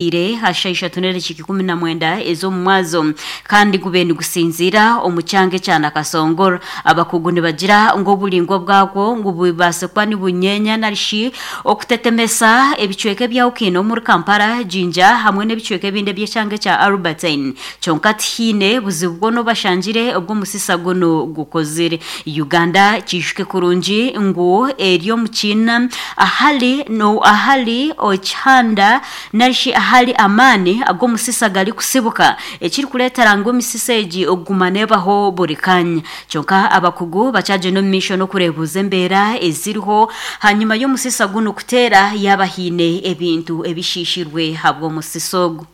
Ire aha shaaha ishatu n'edakiika 19 ez'omu mwazo kandi gube nigusinziira omu kyanga ekya Nakasongora. Abakugu nibagira ngu oburaingwa bwagwo ngu bubaase kuba nibunyeenya narishi okutetemesa ebicweka ebyahukine omuri Kampala, Jinja hamwe n'ebicweka ebindi eby'ekyanga ekya Albertine. Kyonka tihaine buzibu bwona obu bashangire obu omusisa gunu gukozire. Uganda kiijuke kurungi ngu eri omu kiina ahari ahari ekihanda nari shi ahari amaani ag'omusisa garikutsibuka, ekirikureetera ngu emisisa egi okuguma neebaho buri kaanya. Kyonka abakugu bakyagyenda omu maisho n'okureebuuza embeera eziriho hanyima y'omusisa gunu kuteera yaaba haine ebintu ebishiishirwe ahabw'omusisa ogu.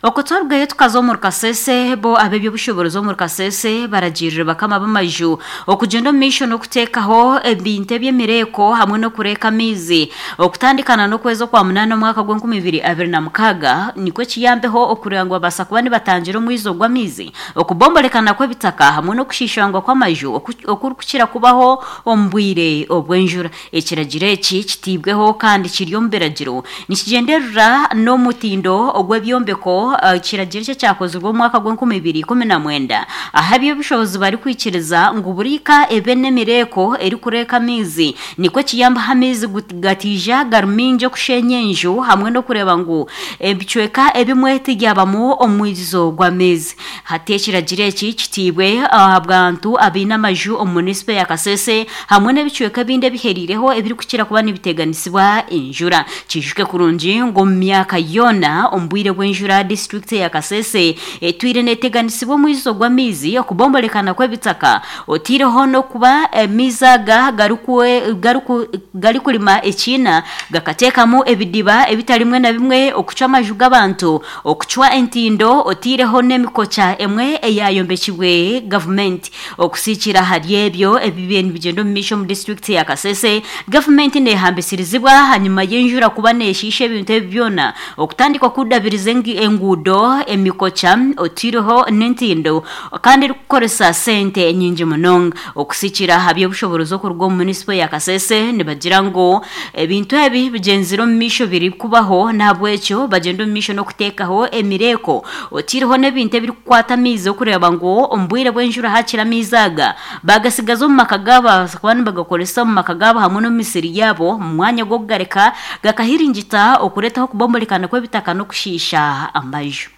Okwo twarugayo tukaza omuri Kasese, bo ab'eby'obushoboorozi omuri Kasese baragiirire bakama b'amaju okugyenda omu maisho n'okuteekaho ebintu eby'emireeko hamwe n'okureeka amaizi okutandikana n'okwezi okwamunaana omwaka gw'enkumi ibiri 26 nikwo kiyambeho okureeba ngu babaasa kuba nibatangira omwizo gw'amaizi, okubomborekana kw'ebitaka hamwe n'okushiishangwa kw'amaju okurikukira kubaho omu bwire obw'enjura. Ekiragiro eki kitaibweho kandi kiri omu biragiro nikigyenderera n'omutindo ogw'ebyombeko ekiragiro eki ekyakozirwe omu mwaka gw'enkumi ibiri ikumi na mwenda ahu aby'obushobozi barikwikiriza ngu buri ka ebe n'emireeko erikureeka amaizi nikwo kiyambaho amaizi gataija gari maingi okusheenya enju hamwe n'okureeba ngu ebicweka ebimwe tibyabamu omwijuzo gw'amaizi. Hati ekiragiro eki kitaibwe ahabw'abantu abaine amaju omu munisipa ya Kasese hamwe n'ebicweka ebindi ebiheriireho ebirikukira kuba nibiteganisibwa enjura. Kiijuke kurungi ngu omu myaka yoona omu bwire bw'enjura disiturikiti eya Kasese etwire neteganisibwa omwijuzo gw'amaizi, okubomborekana kw'ebitaka otaireho n'okuba amaizi aga garikurima ekiina gakateekamu ebidiba ebitari bimwe na bimwe okucwa amaju g'abantu, okucwa entindo otaireho n'emikokya emwe eyayombekibwe gavumenti. Okusiikira ahari ebyo ebibaire nibigyenda omu maisho omu disiturikiti ya Kasese, gavumenti nehambisirizibwa ahanyima y'enjura kuba neshiisha ebintu ebi byona okutandika kudabiriza enguudo, emikokya otaireho n'entindo kandi erikukoresa sente nyingi munonga. Okusiikira aha by'obushoboorozi okuruga omu munisipo ya Kasese nibagira ngu ebintu ebi bigyenzire omu maisho birikubaho n'ahabw'ekyo bagyenda omu maisho n'okuteekaho emireeko otaireho n'ebintu ebirikukwata amaizi okureeba ngu omu bwire bw'enjura hakiri amaizi aga baagasigaza omu maka gaabo babaasa kuba nibagakoresa omu maka gaabo hamwe n'omu misiri yaabo omu mwanya gw'okugareka gakahiringita okureetaho okubomborekana kw'ebitaka n'okushiisha amaju.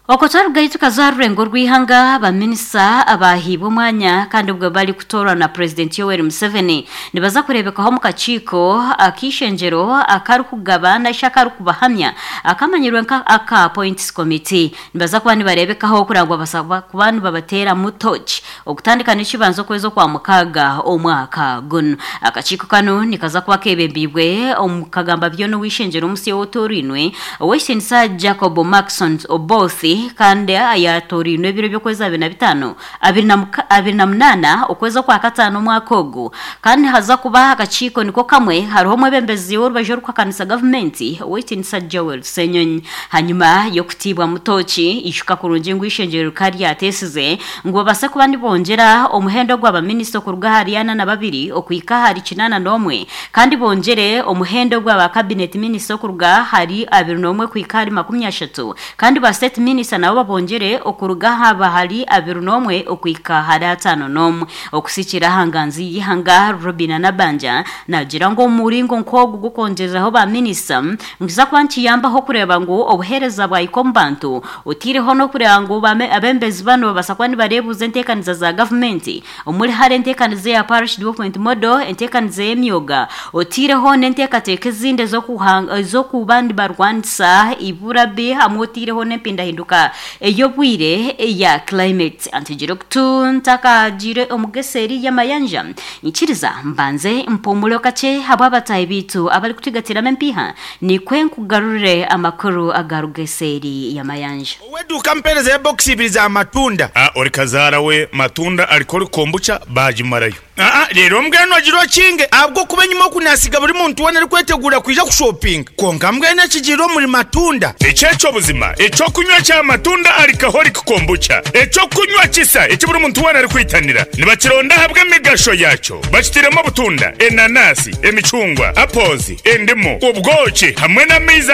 Okwo twarugayo tukaza aha rurengo rw'eihanga, ba minisita abaahaibwe omwanya kandi obwo barikutoorwa na Purezidenti Yoweri Museveni nibaza kureebekaho omu kakiiko ak'eishengyero akarikugaba narishi akarikubahamya akamanyirwe nka aka Appoints Committee. Nibaza kuba nibareebekaho kureba ngu babaasa kuba nibabateeramu tooki okutandika n'ekibanza okwezi Okwamukaaga omwaka gunu. Akakiiko kanu nikaza kuba keebembeirwe omu kagamba byona ow'eishengyero omusya ow'otoorainwe, Ow'ekitiinisa Jacob Marksons Oboth kandi ayaatoorainwe ebiro by'okwezi 25, 28 okwezi Okwakataano omwaka ogu. Kandi nihaza kuba akakiiko niko kamwe hariho omwebembezi w'orubaju orikuhakanisa gavumenti, Ow'ekitiinisa Joel Ssenyonyi. Hanyima y'okutiibwamu tooki, ijuka kurungi ngu eishengyero rikaba ryateesize ngu babaase kuba nibongyera omuhendo gwa baminisita okuruga ahari ana na babiri okuhika ahari kinaana n'omwe kandi bongyere omuhendo gwa ba cabinet minisita okuruga ahari 21 kuhika ahari 30 kandi ba state minisita nabo babongyere okuruga aha ahari 21 okuhika ahari 51. Okusikira aha nganzi y'eihanga Robinah Nabbanja naagira ngu omu muringo nk'ogu gw'okwongyereraho ba minisita nikiza kuba nikiyambaho kureeba ngu obuheereza bwahika omu bantu otaireho n'okureeba ngu abeebembezi banu babaasa kuba nibareebuuza enteekaniza za gavumenti omuri hare enteekaniza eya Parish Development Model, enteekaniza ey'emyoga otaireho n'enteekateeka ezindi ez'okuba nibarwanisa eibura bi hamwe otaireho n'empindahinduka ey'obwire eya climate. Antegire okutu ntakagiire omu geseeri y'amayanja, nyikiriza mbanze mpumureho kakye ahabw'abataahi baitu abarikutugatiramu empiiha Nikwe nkugarurire amakuru agaruga eseeri y'amayanja. Ow'eduuka ampeereza ebokisi ibiri za matunda. A Ori kazaara we matunda ariko ori kombucha baagimarayo. Aa, reero mbwenu ogire okinge, ahabw'okuba enyima oku naasiga buri muntu weena arikweteguura kwija kushopinga. Kwonka mbwenu ekigiire omuri matunda. Eki eky'obuzima, eky'okunywa kya matunda alcoholic kombucha, eky'okunywa kisa eki buri muntu weena arikwitanira. Nibakironda ahabw'emigasho yaakyo. Bakitairemu obutunda, enanasi, emicungwa, apples, endimu, obwoki hamwe n'amaizi.